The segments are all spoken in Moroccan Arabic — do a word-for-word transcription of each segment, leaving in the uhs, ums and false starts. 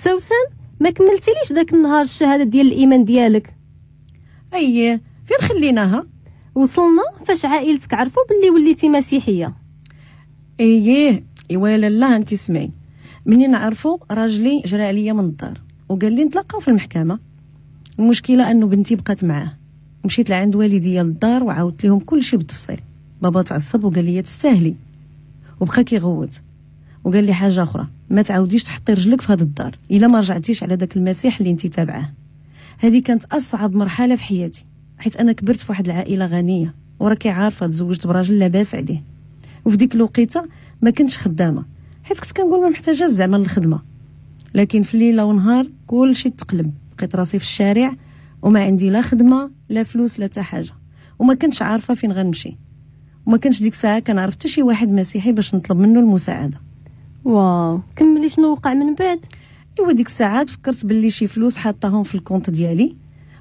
سوسن ما كملتيليش داك النهار الشهادة ديال الايمان ديالك. اييه فين خليناها؟ وصلنا فاش عائلتك عرفوا باللي وليتي مسيحية. اييه ايوا لالا انت سمعي، منين عرفوا راجلي جرى عليا من الدار وقال لي نتلاقاو في المحكمة. المشكلة انه بنتي بقات معاه. مشيت لعند والديا للدار وعاودت لهم كل شيء بالتفصيل. بابا تعصب وقال لي تستاهلي، وبقى كيغوت وقال لي حاجة اخرى، ما تعاوديش تحطي رجلك في هذا الدار الا ما رجعتيش على داك المسيح اللي انت تابعاه. هذه كانت اصعب مرحلة في حياتي، حيت انا كبرت في واحد العائلة غنية وراكي عارفه تزوجت براجل لاباس عليه، وفي ديك الوقيته ما كنتش خدامه حيت كنت كنقول ما محتاجه زعما للخدمة. لكن في ليلة ونهار كلشي تقلب، لقيت راسي في الشارع وما عندي لا خدمة لا فلوس لا حتى حاجة، وما كنتش عارفه فين غنمشي، وما كنتش ديك الساعة كنعرف حتى شي واحد مسيحي باش نطلب منه المساعدة. واو، كملي شنو وقع من بعد؟ ايوا ديك الساعات فكرت باللي شي فلوس حاطاهم في ال compte ديالي،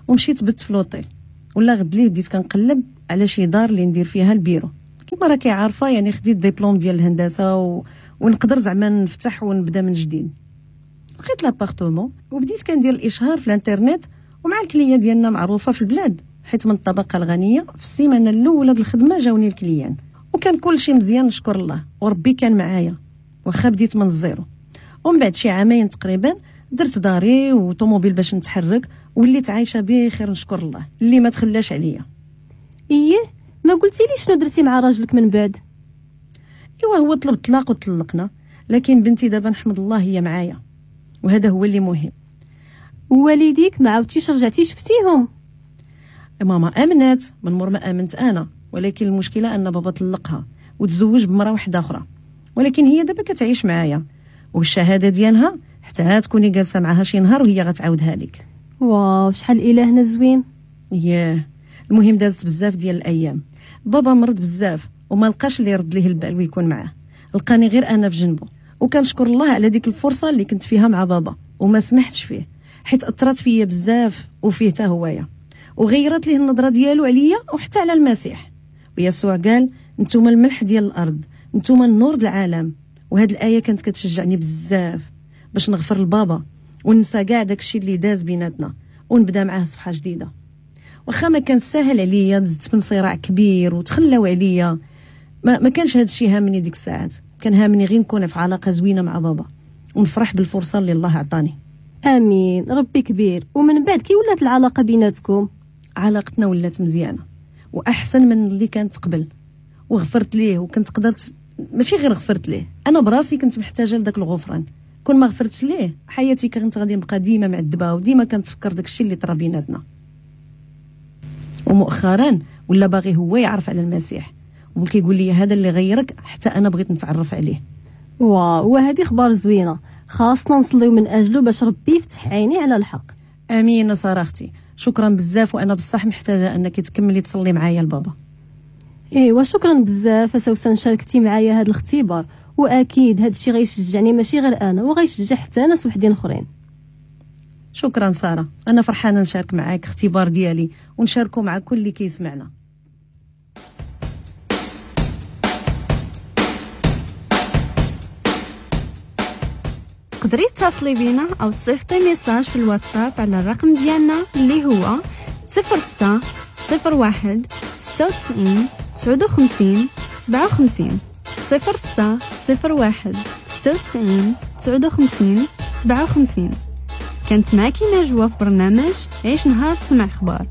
ومشيت بت في l'hôtel. ولا غد ليه بديت كنقلب على شي دار اللي ندير فيها البيرو. كما راكي عارفه يعني خديت ديبلوم ديال الهندسة و... ونقدر زعما نفتح ونبدا من جديد. لقيت l'appartement وبديت كندير الاشهار في الانترنت، ومع ال clients ديالنا معروفة في البلاد حيت من الطبقة الغنية. في السيمانة الاولى ديال الخدمة جاوني ال clients وكان كلشي مزيان نشكر الله، وربي كان معايا واخا بديت من ال zéro. ومن بعد شي عامين تقريبا درت داري وطوموبيل باش نتحرك، وليت عايشه بخير نشكر الله اللي ما تخلاش عليا. ايه ما قلتي لي شنو درتي مع راجلك من بعد؟ ايوا هو طلب طلاق وطلقنا، لكن بنتي دابا نحمد الله هي معايا، وهذا هو اللي مهم. ووالديك ما عاودتيش رجعتي شفتيهم؟ ماما امنات من مور ما امنت انا، ولكن المشكلة ان بابا طلقها وتزوج بمراه واحدة اخرى، ولكن هي دابا كتعيش معايا، والشهادة ديالها حتى تكوني جالسة معاها شي نهار وهي غتعاودها لك. واو شحال الهنا زوين. ياه المهم دازت بزاف ديال الايام. بابا مرض بزاف وما لقاش اللي يرد ليه البال ويكون معاه، لقاني غير انا في جنبه، وكنشكر الله على ديك الفرصة اللي كنت فيها مع بابا وما سمحتش فيه، حيت اثرت فيا بزاف وفيه حتى هوايا، وغيرت ليه النظرة ديالو عليا وحتى على المسيح. ويسوع قال نتوما الملح ديال الارض، نتوما النور ديال العالم. وهاد الايه كانت كتشجعني بزاف باش نغفر لبابا وننسى كاع داكشي اللي داز بيناتنا ونبدا معاه صفحة جديدة. واخا ما كان ساهل عليا، دزت من صراع كبير وتخلاو عليا، ما, ما كانش هذا الشيء هامني ديك الساعات، كان هامني غير نكون في علاقة زوينة مع بابا ونفرح بالفرصه اللي الله عطاني. امين، ربي كبير. ومن بعد كي ولات العلاقة بيناتكم؟ علاقتنا ولات مزيانه واحسن من اللي كانت قبل، وغفرت ليه وكنت قدرت، ماشي غير غفرت ليه، انا براسي كنت محتاجه لذاك الغفران. كون ما غفرتش ليه حياتي كنت غادي نبقى ديما معذبة وديما كنتفكر داكشي اللي طرا بيناتنا. ومؤخرا ولا باغي هو يعرف على المسيح وكيقول لي هذا اللي غيرك حتى انا بغيت نتعرف عليه. واو، وهذه اخبار زوينة، خاصنا نصليو من اجله باش ربي يفتح عيني على الحق. امين ساره اختي، شكرا بزاف، وانا بصح محتاجه انك تكملي تصلي معايا لبابا. ايوا شكرا بزاف سوسن، شاركتي معايا هذا الاختبار، واكيد هذا الشيء غيشجعني ماشي غير انا، وغيشجع حتى ناس وحدين اخرين. شكرا ساره، انا فرحانة نشارك معاك اختبار ديالي ونشاركه مع كل اللي كيسمعنا. تقدري تتصلي بينا او تصيفطي message في الواتساب على الرقم ديالنا اللي هو صفر ستة صفر واحد ستة وتسعين تسعة وخمسين سبعة وخمسين، صفر ستة صفر واحد ستة وتسعين تسعة وخمسين سبعة وخمسين. كانت معك نجوى في برنامج عيش نهار تسمع اخبار.